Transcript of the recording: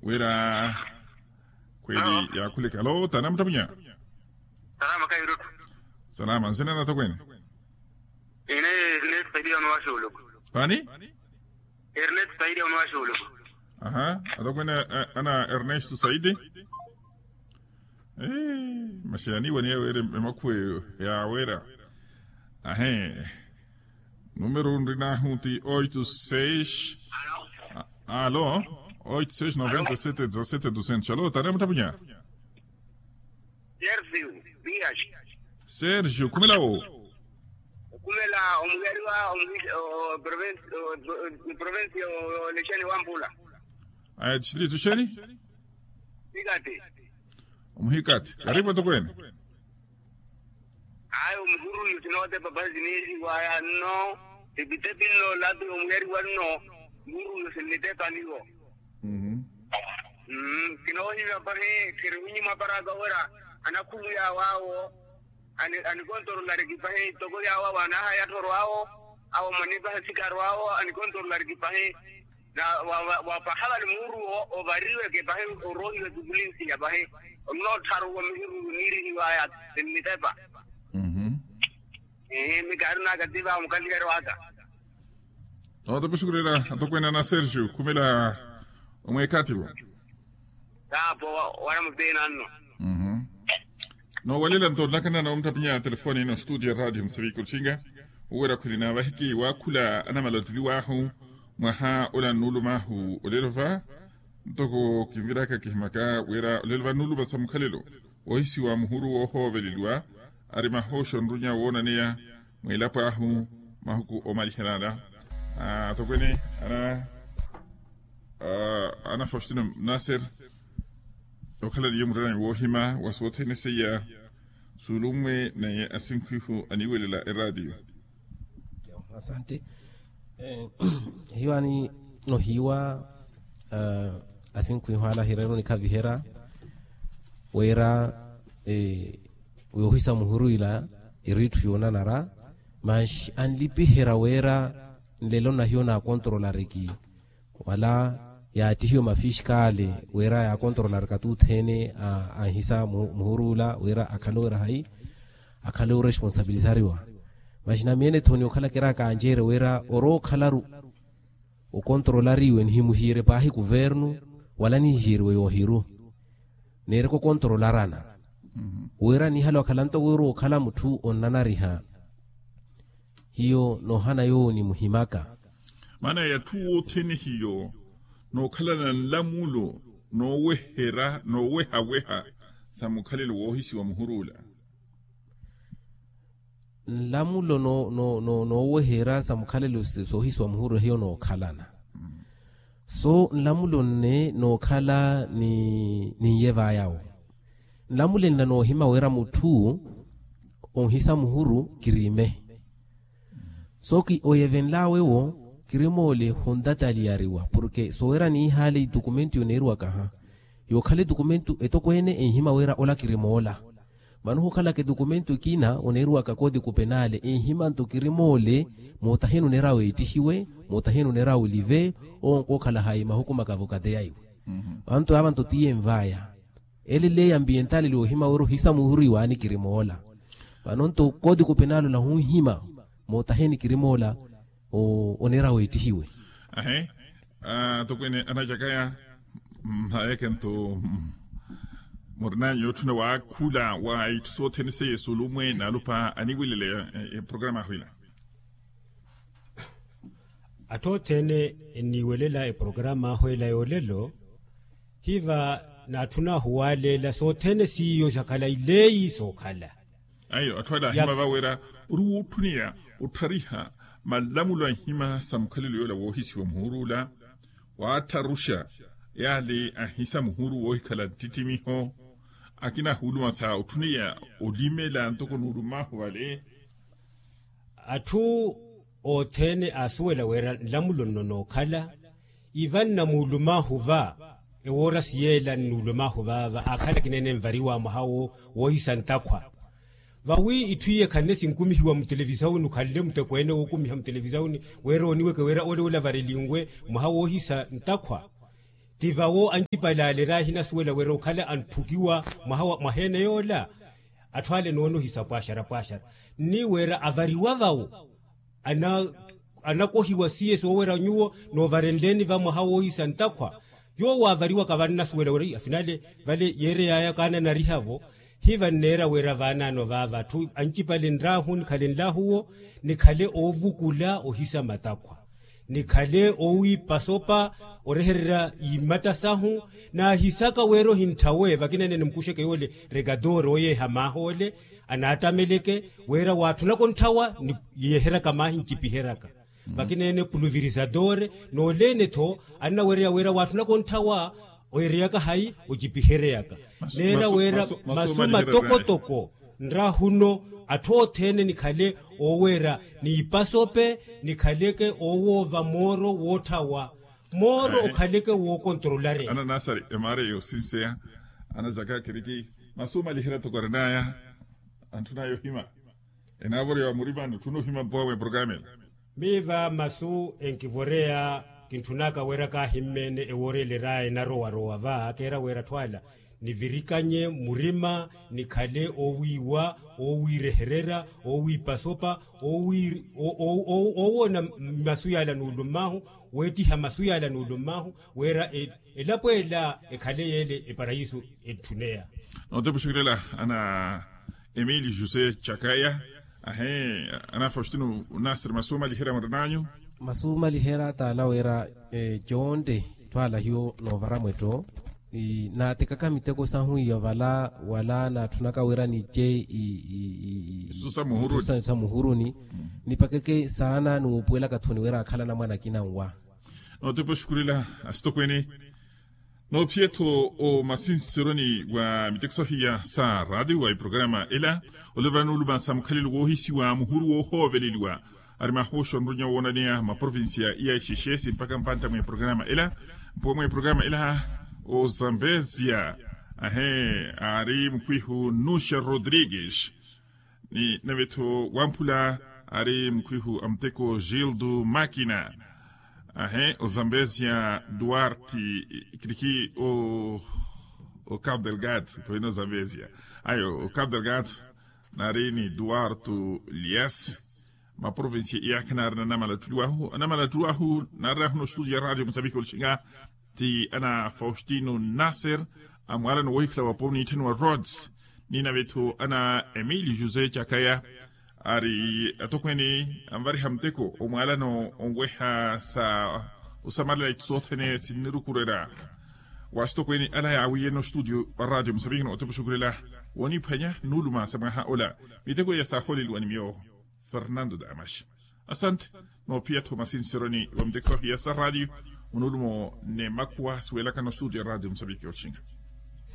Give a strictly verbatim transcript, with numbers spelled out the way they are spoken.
Wira khweli yaakhuleke. Alo, tanamuttamunya? Salama kahirutu. Salama, nsina na atokweene? Ine ernest saidia onowaxuuluku. Pani? Ernest saidia onowaxuuluku. Aha, atokweene. Ana ernesto saidi. Masi yaniiwaniya wira emakhuwa eyo yaawera. Ahe. Numero nrinahu ti oito seis. Alo. Oito seis noventa sete dezasete duzentos. Alo, tanamuttapunya? Sergio dias. Sergio khumela wo? Khumela omuhiyariwa oprovinsi olexeni wampula. Aya distritu xeni? Hikati. Omuhikati karipu atokweene. Ayo muhuruyu sinootepa pahi siniixiwaya nno. Epitepi nno latu yomuhiyariwa nno. Muhuruyu sinnitepa niwo. Kinoohimya pahi khirihunyima paraka wira anakhuluya awo awo. Anikontorolari kipahi toko yawo awo anahaya atthoro awo. Awo manipahi sikaro awo anikontorolari kipahi. Wapaha vale muuru ovariweke pahi oroohiwe kukulinsiya pahi. Onnoottharo wa mihiru niirihiwaya sinnitepa. Mikaari naka tiva mukaliheri waka. Oto pisukurira atokweene ana sergio khumela omweekativo. Taapo wala muteenanno. Noowalela nto olakana noomuttapinya telefoni ino studio ya radio musaviki osinga. Uwera khwili na vahiki waakhula anamala ottiliwaahu mwaha ola nnuulumaahu olelo va. Ntoko kinviraka kihimaka wira olelo va nnuuluma sa mukhalelo woohisiwa muhuru woohooveleliwa. Ari mahooxo nrunya woonaneya mweelapo ahu mahuku omaliherya ala. Atokweene ana faustino naser okhala niyo murerani woohima wa soothene seiya suulummwe naye asinkhwihu aniiwelela eraatiyo. Asante. Hiyo ani nohiiwa asinkhwihu ala ahireeruni khaviherya wira yoohisa muhuru ila iriitthu yoonanara. Manxi anlipiherya wira nlelo nahiyo naakontrolariki wala yaattihiwe mafiskali wira yaakontrolarika tuuthene anhisa muhuru ula wira akhale owira hayi akhale oresponsabilisariwa. Maxina miene-tho ni okhala kiraaka anjeere wira orowa okhalaru okontrolariwe nihimuhiire paahi kuvernu wala nihihiiriwe yoohiru neereke okontrolarana wira nihala okhala ntoko wira okhala mutthu onnanariha. Hiyo noohana yoowo nimuhimaka. Maana ya atthu othene hiyo nookhalana nlamulo nooweherya noowehaweha sa mukhalelo woohisiwa muhuru ula. Nlamulo nooweherya sa mukhalelo soohisiwa muhuru hiyo nookhalana. So nlamulo nne nookhala ninye vaayawo nlamulo enna noohima wira mutthu onhisa muhuru kirime. So oyevenlaawe-wo kirimoole hontataliyariwa porke soowerya niihaale itukumento yoneeriwakaha yookhala etukumento etokweene enhima wira ola kirimoola. Vano ohukhalaka etukumento ekina oneeriwaka kooti kupenaale enhima nto kirimoola mootaheni oneerya weettihiwe mootaheni oneerya olive. Owo nkookhala hayi mahuku makavokate yaiwe. Vano nto yaava nto tiye envaaya ele leyi ambiyentaleli oohima wira ohisa muhuru iwaani kirimoola. Vano nto kooti kupenaale ola hunhima mootaheni kirimoola oneerya weettihiwe. Ahe. Atokweene anacakaya mhayeke nto murinanyu yootthuna waakhula wa itthu sothene seiye suulumwe naalupa aniiweleleya eprograma ahu ila. Atthu othene enniiwelela eprograma ahu ela yoolelo hiva naatthuna ahu waaleela sothene siiyo sakhala ileeyi sookhala. Ayo atthu ale ahima vawera ori wuutthuniya otthariha malamulo a nhima sa mukhalelo yoola woohisiwa muhuruula. Waattharuxa yaale ahisa muhuru woohikhala nttittimiho akina ahuuluma sa otthuniya olimela ntoko nuulumahu vale. Atthu othene aasuwela wira nlamulo nno nookhala ivanna muulumahu va ewoorasi yeela nnuulumahu vaava aakhala akina ene envariwa mwaha woohisa ntakhwa. Vawi itthu iye khanne sinkumihiwa mutelevisawuni okhanle mutekweene wookumiha mutelevisawuni wira oniweke wira ole olavareliwe mwaha woohisa ntakhwa. Ti vawo ancipale ale rahi nasuwela wira okhala anthukiwa mwaha wa mwaha ene yoola. Atthu ale noonohisa pwaxara pwaxara nni wira avariwa vawo anakohiwa siye soowerya nyuwo noovarenleni va mwaha woohisa ntakhwa. Yoowo avariwaka vannasuwela wira afinale vale yeereyaya kaananariha-vo. Hivanneera wira vaanaano vaava atthu ancipale nraahu nikhale nlaahuwo nikhale oovukula ohisa matakhwa nikhale oowiipa sopa orehererya imatta sahu. Naahisaka wira ohinthawe vakinene nimukuxeke yoole rekatoori ooyeeha maaha ole anaattameleke wira waatthunaka ontthawa ni yeeheryaka maahi ncipiheryaka vakinene puluvirisadore noolene-tho annawereya wira waatthunaka ontthawa oereyaka hayi ocipiheryaka neera wira masu matokotoko nrahuno atthu othene nikhale ooweera n'ipasope nikhaleke oowoova mooro wootthawa mooro okhaleke wookontrolareni. Ananasari emaara yoosinseya anacaka kiriki masu malihira toko arinaya antthunaya ohima enaavoriwa murimani otthuna ohima mpowa mwa eprokaramela. Miiva masu enkivoreya kintthunaka wira kaahimmeene ewoorelera enarowarowa va keera wira atthu ala nivirikanye murima nikhale oowiiwa oowiirehererya oowiipa sopa oowoona masu yaala nuulummahu weettiha masu yaala nuulummahu wira elapo ela ekhale yeele eparayisu entthuneya. Nootepa oxukilela ana emili jose chakaya ahe ana faustino nasiri masu omaliherya mwarananyu. Masu omaliherya taala wira jonte twala hiyo noovara mwetto naatekaka miteko sahu iya vala wala naatthunaka wira nije samuhuruni nipakeke saana nuupuwelaka thuni wira akhala anamwana akina nwa. Nootepa oxukulela asitokweni noophiya-tho omasinseroni wa miteko sahiya sa raatiyo wa eprokarama ela olivana nuuluma sa mukhalelo woohisiwa muhuru woohooveleliwa ari mahoxo anrunya woonaneya maprovincia iya exexe simpaka mpantta mwa eprokarama ela mpuwa mwa eprokarama ela ozambezia ahe ari mukwihu nuxa rodrigues ni nave-tho wamphula ari mukwihu a muteko gildo makina ahe ozambezia duarte kiriki o o cabo delgado kawina ozambezia ayo o cabo delgado nari ni duarte lias maprovincia iyakha nari na namala ttuliwahu anamala ttuliwahu nari ahu no studio ya radio musambiki olixinga ti ana faustino nasser amwaalano wohikhula wa poni itthaniwa rods ni nave-tho ana emili jose chakaya ari atokweni anvariha muteko omwaalano onweha sa osamalela itthu sothene sinnirukurerya wa asitokweni ala yaawiyene ostudio wa radio musambiki nootepa oxukulela wooniphwanya nuuluma sa mwaha ola miteko iya saahooleliwa ni miyo fernando damas asante noophiya-tho masinseroni wa miteko sahiya sa radio onuulumo ni makhuwa siwelaka nostudio ya radio musambiki oxinga